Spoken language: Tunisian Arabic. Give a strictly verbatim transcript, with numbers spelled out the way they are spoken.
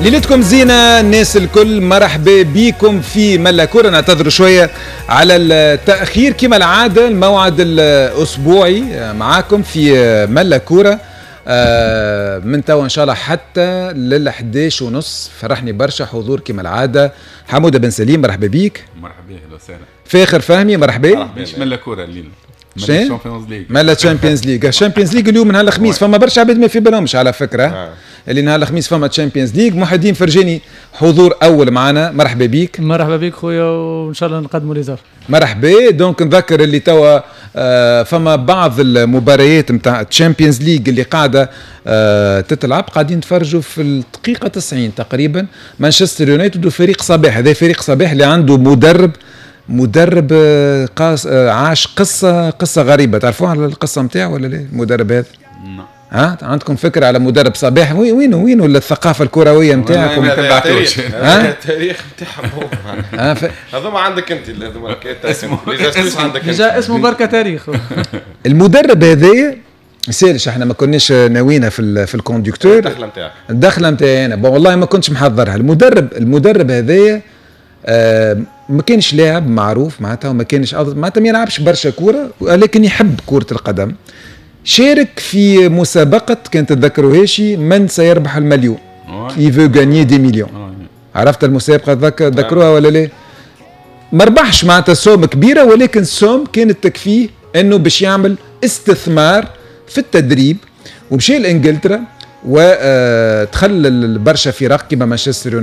ليلتكم زينة الناس الكل، مرحبا بكم في ملا كورة. نعتذر شوية على التأخير، كما العادة الموعد الأسبوعي معاكم في ملا كورة آه، من توا إن شاء الله حتى لل إحداش ونص. فرحني برشا حضور كما العادة حمودة بن سليم، مرحبا بيك. مرحبا، اهلا وسهلا. فاخر فهمي، مرحبا. مش ملا كورة الليلة؟ ملا Champions League. ملا Champions League، Champions League اليوم نهار الخميس. فما برشا عباد ما في بالهمش على فكرة آه. اللي نهار الخميس فما Champions League. محي الدين فرجاني حضور اول معنا، مرحبا بيك. مرحبا بك خويا، وان شاء الله نقدموا les offres. مرحبا. donc نذكر اللي توا آه فما بعض المباريات نتاع Champions League اللي قاعدة آه تتلعب، قاعدين نتفرجوا في الدقيقة تسعين تقريبا، مانشستر يونايتد وفريق صباح. هذا فريق صباح اللي عنده مدرب مدرب آه، قاس آه، عاش قصه قصه غريبه. تعرفوها على القصة نتاعو ولا لا المدرب هذا؟ نعم. ها، عندكم فكرة على مدرب صباح؟ وين وين وين الثقافة الكروية نتاعكم؟ ما تبعتوش. التاريخ نتاعهم هذوما عندك انت، هذوما اسمه عندك. déjà اسمه بركة تاريخ. المدرب هذايا سالش، احنا ما كناش ناوينا في في ال conducteur. الدخلة نتاعك. الدخلة نتاعي انا، bon والله ما كنتش محضرها. المدرب المدرب هذايا آه ما كانش لاعب معروف معناتها، وما كانش معناتها ما يلعبش برشا كوره، ولكن يحب كره القدم. شارك في مسابقة كانت تتذكروهاش، من سيربح المليون، qui veut gagner des millions. عرفت المسابقة؟ تذكروها ولا لا؟ ما ربحش معناتها somme كبيرة، ولكن somme كانت تكفيه انه باش يعمل استثمار في التدريب، ومشى لانجلترا ودخل برشا فرق كما مانشستر.